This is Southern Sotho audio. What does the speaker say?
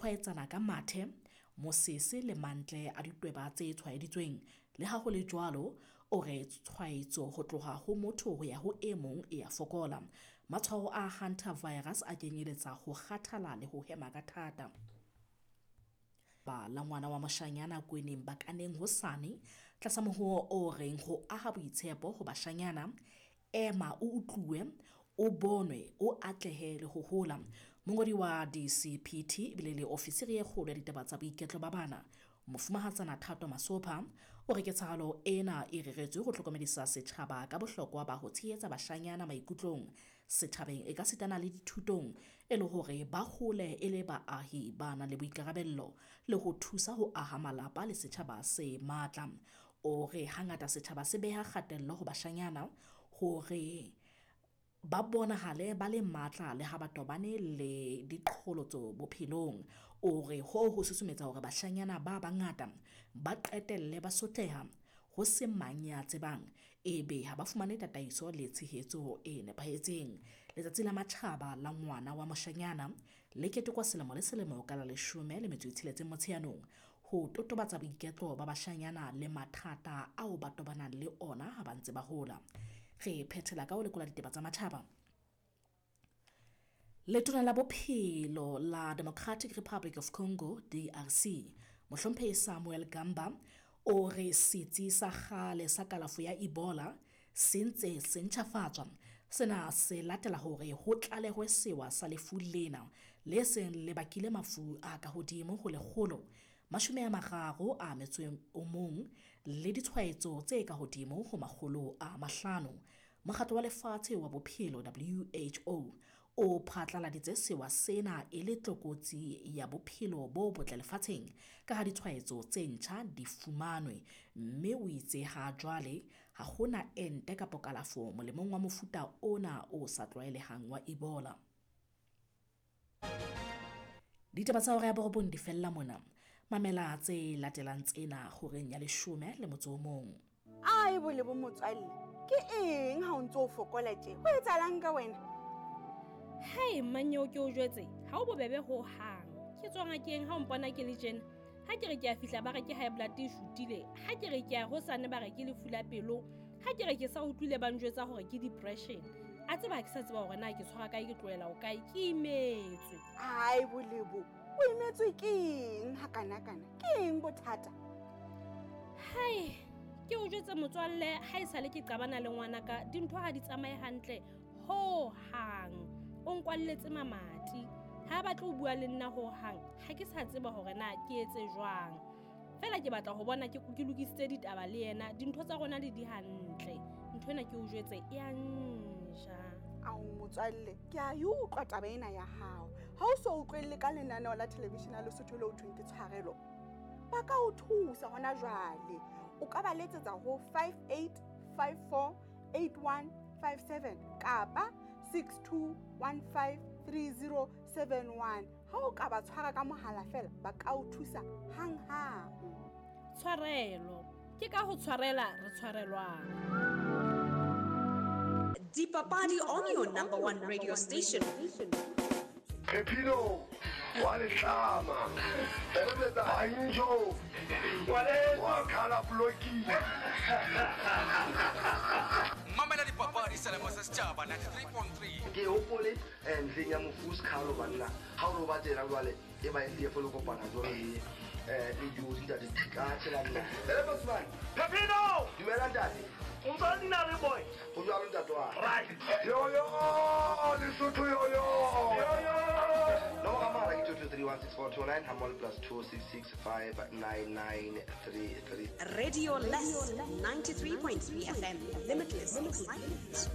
tshwaetsana ka mathe, mosese le mantle a ditweba tse tshwaeditsweng. Le ha ho le jwalo, o re tshwaetso ho tloha ho motho ho ya ho e mong e a fokola. Matshwao a hantavirus a kenyeletsa ho kgathala le ho hema ka thata. Ba la ngwana wa moshanyana Kweneng Bakaneng hosane tlasa mohoo o reng ho aha boitshepo ho bashanyana, ema o utluwe, o bonwe, o atlehe le ho hola. Mongodi wa DCPT ebile le ofisiri e kgolo ya ditaba tsa boiketlo ba bana, Mofumahatsana Thato Masopha, o re ketsahalo ena e reretswe ho hlokomedisa setjhaba ka bohlokwa ba ho tshehetsa bashanyana maikutlong setjhabeng e ka sitana le dithutong e le hore ba hole e le baahi ba nang le boikarabello le ho thusa ho aha malapa le setjhaba se matla. O re hangata setjhaba se beha kgatello ho bashanyana hore ba bonahale ba le matla le ha ba tobane le diqholotso bophelong. O re hoo ho susumetsa hore bashanyana ba bangata ba qetelle ba sotleha ho se mang ya tsebang, ebe ha ba fumane tataiso le tshehetso e nepahetseng. Letsatsi la Matjhaba la Ngwana wa Moshanyana le ketekwa selemo le selemo ka la 16 Motsheanong ho totobatsa boiketlo ba bashanyana le mathata ao ba tobanang le ona ha ba ntse ba hola. Re phethela ka ho lekola ditaba tsa matjhaba. Letona la Bophelo la Democratic Republic of Congo, DRC, Mohlomphehi Samuel Gamba, o re setsi sa kgale sa kalafo ya Ebola se ntse se ntjhafatswa. Sena se latela hore ho tlalehwe sewa sa lefu lena le seng le bakile mafu a ka hodimo ho 131 le ditshwaetso tse ka hodimo ho 500. Mokgatlo wa Lefatshe wa Bophelo WHO o phatlaladitse sewa sena e le tlokotsi ya bophelo bo botle lefatsheng ka ha ditshwaetso tse ntjha di fumanwe, mme o itse ha jwale ha hona ente kapa kalafo molemong wa mofuta ona o sa tlwaelehang wa Ebola. Ditaba tsa hora ya 9 di fella mona. Mamela tse latelang tsena horeng ya 11. Ai bole bo motswalle, ke eng ha o ntse o fokola tje? Ho etsahalang ka wena? Hai mmanyeo ke o jwetse, ha o bobebe ho hang. Ke tswa ngakeng ha o mpona ke le tjena. Ha ke re ke a fihla ba re ke high blood e shutile, ha ke re ke a hosane ba re ke lefu la pelo, ha ke re ke sa utlwile ba njwetsa hore ke depression. A tseba ha ke sa tseba hore na ke tshwara kae, ke tlohela o kae, ke imetswe. Ai bolebo, o imetswe ke eng ha kana-kana? Ke eng bothata? Hai, ke o jwetse motswalle, ha e sale ke qabana le ngwanaka, dintho ha di tsamaye hantle ho hang. O nkwalletse mamati, ha batle ho bua le nna ho hang, ha ke sa tseba hore na ke etse jwang. Fela ke batla ho bona ke lokisitse ditaba le yena, dintho tsa rona le di hantle. Ntho ena ke o jwetse e a nja. Ao motswalle, ke a e utlwa taba ena ya hao. Ha o so utlwelle ka lenaneo la television ya Lesotho le ho thweng ke Tshwarelo, ba ka o thusa hona jwale. O ka ba letsetsa ho 58548157 kapa 62153071. Ha o ka ba tshwara ka mohala fela, ba ka o thusa hang-hang. Tshwarelo, ke ka ho tshwarela re tshwarelwang. Dipapadi on your number one radio station. Pepino wa letlama, Banjo wa khala bloki. Mamela dipapadi selemo sa setjhaba 93.3. Ke hopole ntleng ya mofu Skhalo banna. Ha o roba tsela jwale e ba e folo kopana jwale le le dijo ntate ka tshela nna. Ele Bosman. Pepino! Dumela ntate. O ntse nna le boy. Ho jwalo ntate wa. Right. Yo yo, Lesotho yo yo. Yo yo. Nomoro ya mohala ke 2231642 hammoho plus 266599933. Radio Less 93.3 FM. Limitless excitement.